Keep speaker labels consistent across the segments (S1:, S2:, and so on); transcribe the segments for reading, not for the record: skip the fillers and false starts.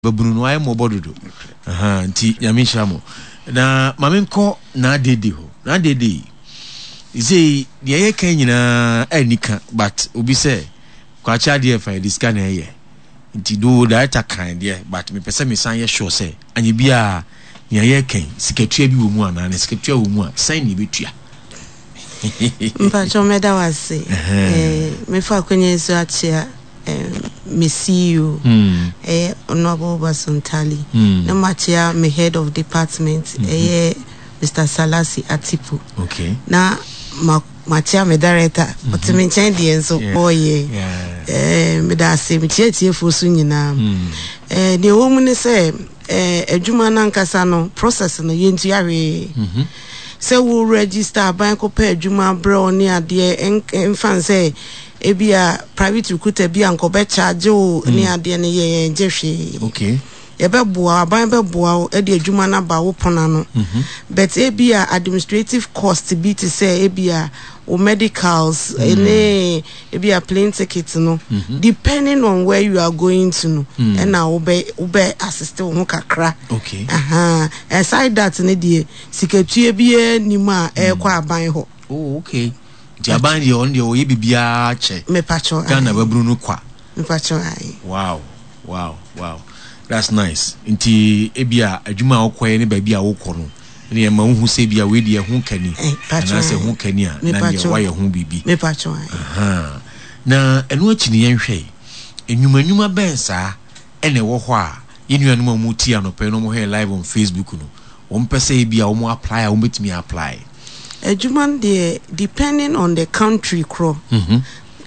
S1: Babunu no ayɛ mmɔbɔ dodo. Ahaa, nti Nyame nhyira mo. Na ma menkɔ Naadede hɔ. Naadede yi, sei deɛ yɛka nyinaa ɛnni ka, but obi sɛ kwakye adeɛ fa yɛde sika na ɛyɛ. Nti do director kan deɛ, but mepɛ sɛ mesan yɛ sure sɛ anyɛ biara nea yɛka yi, sikatua bi wɔ mu anaa, na sikatua wɔ mu a, sɛn na yɛbɛtua?
S2: Mpakyɛw mɛda wo ase. Mɛfa akwanya yi so akyea me CEO, ɛyɛ Honourable Basontali, na makyea me head of department, ɛyɛ Mr. Salasi Atipu. Na makyea me director, ɔte me nkyɛn deɛ nso ɔyɛ. Meda ase, mekyea atiefoɔ so nyinaa. Deɛ ɛwɔ mu ne sɛ, adwuma no ankasa no, process no, yɛntua hwee. Sɛ wo register aban kɔpɛ adwuma abrɛ wo ne adeɛ, mfa nsɛ ebia private recruiter bi a nka ɔbɛ charge wo ne adeɛ no, yɛ yɛn gye hwee. Yɛbɛboa wo, aban bɛboa wo de adwuma no aba wo pono ano. But ebia administrative cost bi te sɛ ebia wo medicals ne ebia plane ticket no, depending on where you are going to no, ɛna wobɛ wobɛ assist wo ho kakra. Aha. Aside that ne deɛ, sikatua biara nnim a ɛrekɔ aban hɔ.
S1: Oh, okay. Nti aban deɛ ɔno deɛ ɔyɛ biribiara kyɛ.
S2: Mepakyɛw,
S1: Ghana babunu no kwa.
S2: Mepakyɛw, ae.
S1: Wow. That's nice. Nti ebia adwuma a wokɔyɛ ne baabi a wokɔ no, ne ɛma wohu sɛ ebia wei deɛ ɛho ka ni, anaasɛ ɛho ka ni a, na neɛ woayɛ ho biribi.
S2: Mepakyɛw, ae.
S1: Aha. Na ɛno akyi no yɛnhwɛ yi, nnwuma nnwuma bɛn saa ɛna ɛwɔ hɔ a yɛn nuanom a wɔtie anɔpa yi na wɔhwɛ yɛn live on Facebook no, wɔmpɛ sɛ ebia wɔn apply a wɔbɛtumi apply?
S2: Adwuma no deɛ depending on the country korɔ.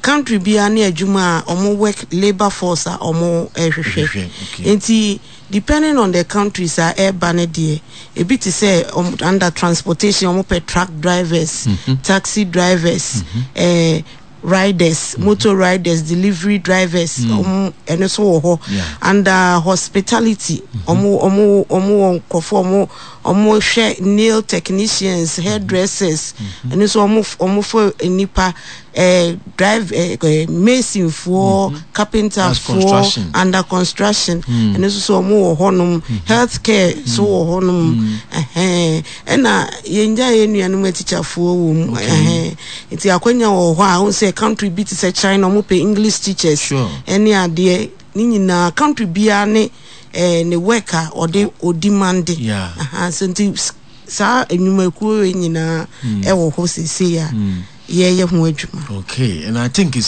S2: Country biara ne adwuma a wɔn work labour force a wɔn hwehwɛ. Nti depending on the countries a ɛreba no deɛ, ebi te sɛ wɔn under transportation wɔn pɛ truck drivers, taxi drivers, riders, motor riders, delivery drivers, wɔn ɛno nso wɔ hɔ. Under hospitality, wɔn wɔn wɔn wɔ nkurɔfoɔ wɔn wɔn hwɛ nail technicians, hairdressers, ɛno nso wɔn wɔn fo nnipa, drive masonfoɔ, carpenterfoɔ, under construction, ɛno nso so wɔn wɔ hɔnom, health care so wɔ hɔnom, ɛhɛn, ɛna yɛn gya yɛn nuanom atikyafoɔ wɔ mu, ɛhɛn, nti akwanya wɔ hɔ a wɔn sɛ country bi te sɛ China wɔn pɛ English teachers ɛne adeɛ ne nyinaa country biara ne ne work a ɔde ɔdemande. Aha, so nti saa nnwumakuo wei nyinaa ɛwɔ hɔ seesei a yɛyɛ ho adwuma.
S1: Okay, and I think it's